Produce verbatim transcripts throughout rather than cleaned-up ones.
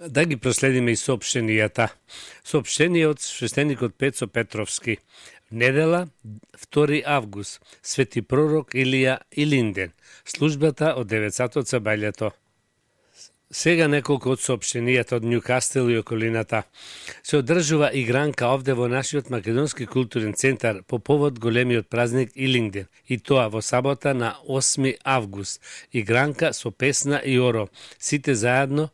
Да ги проследиме и соопштенијата. Соопштение од свештеникот Пецо Петровски. Недела, втори август, свети пророк Илија Илинден. Службата од девет сатот за бајлето. Сега неколку од соопштенијата од Њукастел и околината. Се одржува игранка овде во нашиот македонски културен центар по повод големиот празник Илинден, и тоа во сабота на осми август. Игранка со песна и оро, сите заедно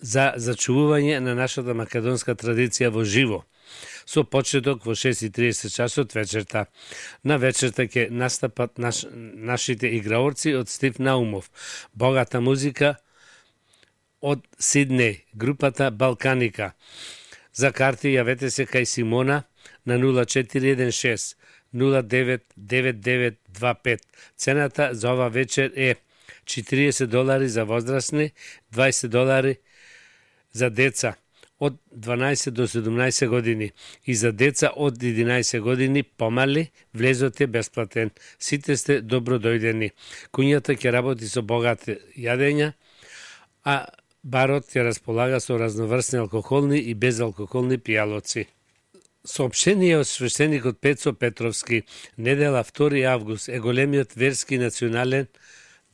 за зачувување на нашата македонска традиција во живо. Со почеток во шест и тридесет часот вечерта. На вечерта ќе настапат наш, нашите играорци од Стив Наумов. Богата музика од Сиднеј, групата Балканика. За карти јавете се кај Симона на нула четири еден шест нула девет девет девет два пет. Цената за ова вечер е четириесет долари за возрастни, дваесет долари за деца од дванаесет до седумнаесет години и за деца од единаесет години помали, влезот е бесплатен. Сите сте добро дојдени. Куњата ќе работи со богати јадења, а барот ќе располага со разноврсни алкохолни и безалкохолни пијалоци. Соопштение од свештеникот Пецо Петровски. Недела втори август е големиот верски национален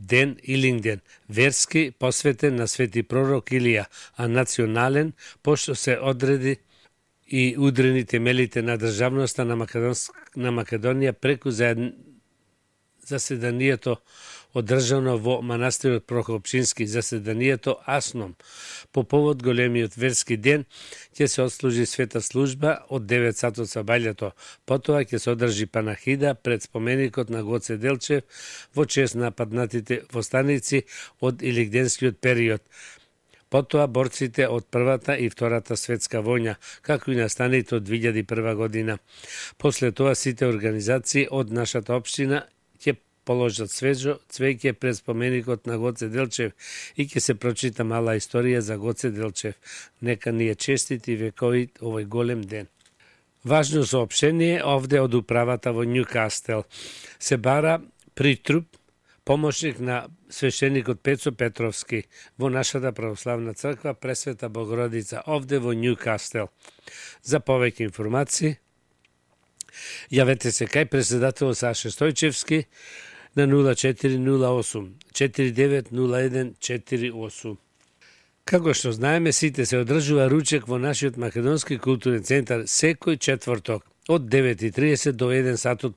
ден Илинден, верски посветен на свети пророк Илија, а национален пошто се одреди и удрени темелите на државноста на, Македонс... на Македонија преку заседанието одржано во манастирот Прокопчински, заседанието Асном. По повод големиот верски ден ќе се отслужи света служба од девет сатот со бајлето. Потоа ќе се одржи панахида пред споменикот на Гоце Делчев во чест на паднатите востаници од илинденскиот период. Потоа борците од првата и втората светска војна, како и настаните од две илјади и прва година. После тоа сите организации од нашата општина ќе положат свежо цвеќе пред споменикот на Гоце Делчев и ќе се прочита мала историја за Гоце Делчев. Нека ни е честит и вековит овој голем ден. Важно соопштение овде од управата во Њукастел. Се бара притруп, помошник на свештеникот Пецо Петровски во нашата православна црква Пресвета Богородица овде во Њукастел. За повеќе информации јавете се кај председател Саше Стојчевски на нула четири нула осум четири девет нула еден четири осум. Како што знаеме, сите се одржува ручек во нашиот македонски културен центар секој четврток од девет и тридесет до еден сатот